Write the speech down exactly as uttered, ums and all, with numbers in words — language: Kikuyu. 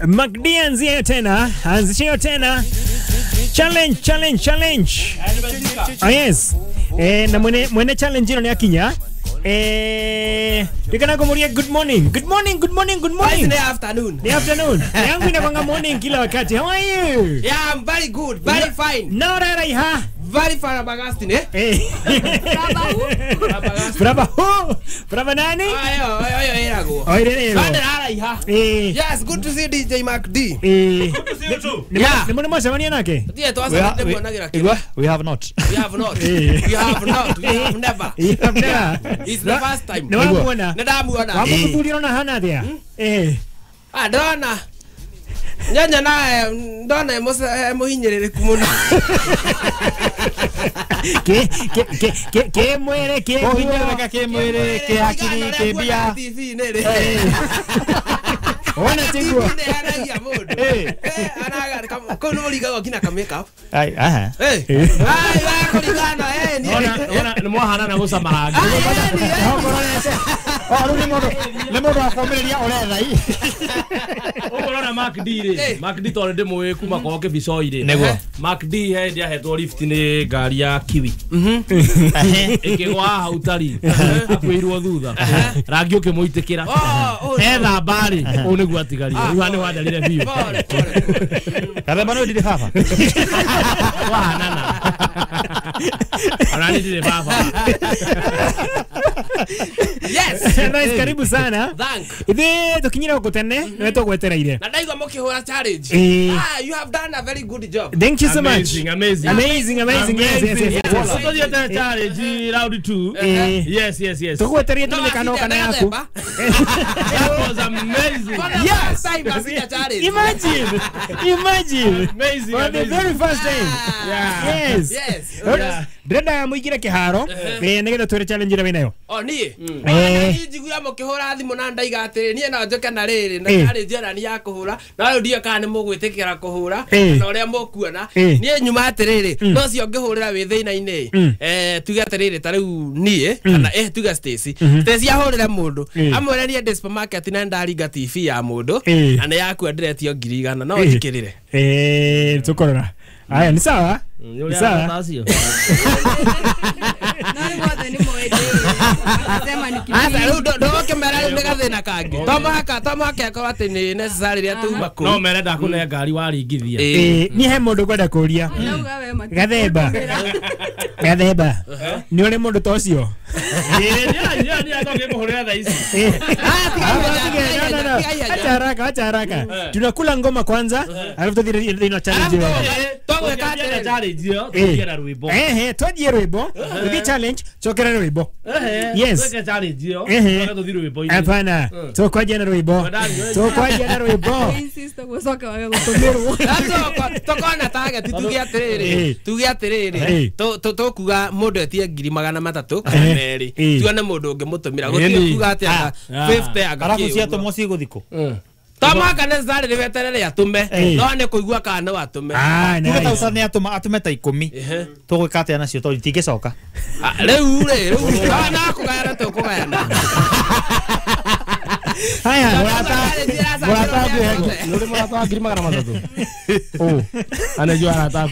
MacD anzie tena, anzishio tena. Challenge, challenge, challenge. Ah, yes. Eh, na mwene mwene challenge ino ni akinya. Eh, tikana kumuria good morning. Good morning, good morning, good morning. It's the afternoon. The afternoon. Yangu inakwanga morning kila wakati. How are you? Yeah, I'm very good, very fine. No rara Very fine Augustine, eh? Eh. Brava who? Brava nani? Ayo, ayo, ayo, ayo. Eh. Yes, good to see D J Mac D. Eh. Good to see you too. Yeah. Ni mbona mwashamania nake? Ndiye tuanze We, we have not. We have not. We have not. We have never. We have never. It's the first time. Ni wamuona. Ndamuona. Wamukuthuria na hana there. Eh. Ah, ndona. Nyanya nae ndona muhinyĩrĩrĩku mũno. Ke ke ke ke ke mwere ke muhinyĩrĩrĩka ke mwere ke hakiri ke mbia. Ona tiguo. Nĩ mũndũ. Eh, anaga kau nĩ mũringagwo nginya ka make up. Ai, aha. Eh. Ai, wa kũringana eh ni. Ona ona nĩ mwahanana gũcama rangi. Oh, rĩu nĩ mũndũ nĩ mũndũ wa kũũmĩrĩria ũretha i. Ũkũrora Mac D rĩ, Mac D tondũ ndĩmũĩ kuma kwao Kĩbicoi rĩ. Nĩguo. Mac D he hĩndĩ ahetwo lift nĩ ngari ya Kiwi. Mhm. Ĩkĩgwa hau tari akuĩirwo thutha. Rangi ũkĩmũitĩkĩra. Ethamba rĩ, ũũ nĩguo atigarire. Rĩu haha nĩ wandarire biũ. Pole pole. Gathemba nĩ ndirĩ baba. Wahanana. Ona nĩ ndirĩ baba. Yes. Nice, karibu sana. Thank. Ithe tukinyira huko tene, niwe tugwetereire. Na ndaigua mukihura challenge. Ah, you have done a very good job. Thank you so much. Amazing, amazing. Amazing, amazing. Yes, yes, yes. Tuthiete challenge round two. Yes, yes, yes. Tugwetereire tumenye kana kana yaku. That was amazing. Yes. Imagine. Imagine. Amazing. For the very first time. Yeah. Yes. Yes. Ndĩrenda mũingĩre kĩharo nĩgetha twĩre challenge ĩrĩa wĩnayo. O niĩ. Niĩ njiguaga mũkĩhũra thimũ na ndaiga atĩrĩ niĩ no njoke na rĩrĩ na challenge ĩno nĩ ya kũhũra na rĩu ndiũĩ kana nĩ mũgwĩtĩkĩra kũhũra na ũrĩa mũkuona. Niĩ nyuma atĩrĩrĩ no cio ngĩhũrĩra wĩ thĩna-inĩ eh tuge atĩrĩrĩ ta rĩu niĩ kana eh tuge Stacy. Stacy ahũrĩre mũndũ amwĩre niĩ ndĩ supermarket na ndaringa T V ya mũndũ na nĩ yakua ndĩretio ngiri igana no njikĩrĩre. Eh tũkorora. Aya ni sawa? Ni sawa. Asa rĩu ndũgũkĩmera rĩu nĩ gathĩna kangĩ. To mũhaka to mũhaka akorwo atĩ nĩ necessary rĩrĩa tuma kũu. No mere ndakũne ngari waringithia. Eh, niĩ he mũndũ ngwenda kũria. Gathemba. Gathemba. Nĩ ũrĩ mũndũ ta ũcio? Eh, niĩ niĩ niĩ ndũngĩmũhũrĩra thaa ici. Ah, tiga. Acha haraka, acha haraka. Tunakula ngoma kwanza, alafu tuthiĩ thĩinĩ wa challenge ĩyo. Tũgwĩka atĩrĩ challenge ĩyo, tũthiĩ na rwĩmbo. Eh, tũthiĩ rwĩmbo, tũthiĩ challenge, cokera rwĩmbo. Yes. Twĩke challenge ĩyo, tũthiĩ rwĩmbo-inĩ. Hapana, tũkwanjia na rwĩmbo. Tũkwanjia na rwĩmbo. Insist gũcoka wage gũtũmĩrwo. Tũkona target tuge atĩrĩrĩ, tuge atĩrĩrĩ, tũkuga mũndũ etie ngiri magana matatũ kana merĩ. Tuone mũndũ ũngĩmũtũmĩra. Gũtirĩ kuga atĩ anga fifty anga kĩ. Arabu ciatũmwo cigũthiĩ kũ? To mũhaka necessarily weterere atũme no nĩ kũigua kana no atũme. Tuge ta ũca nĩ atũma atũme ta ikũmi. Tũgwĩka atĩa nacio tondũ itingĩcoka? Rĩu rĩ, rĩu no kũgayana tũkũgayana. Haya, mũrata mũrata wa ngiri magana matatũ. Anajua arata.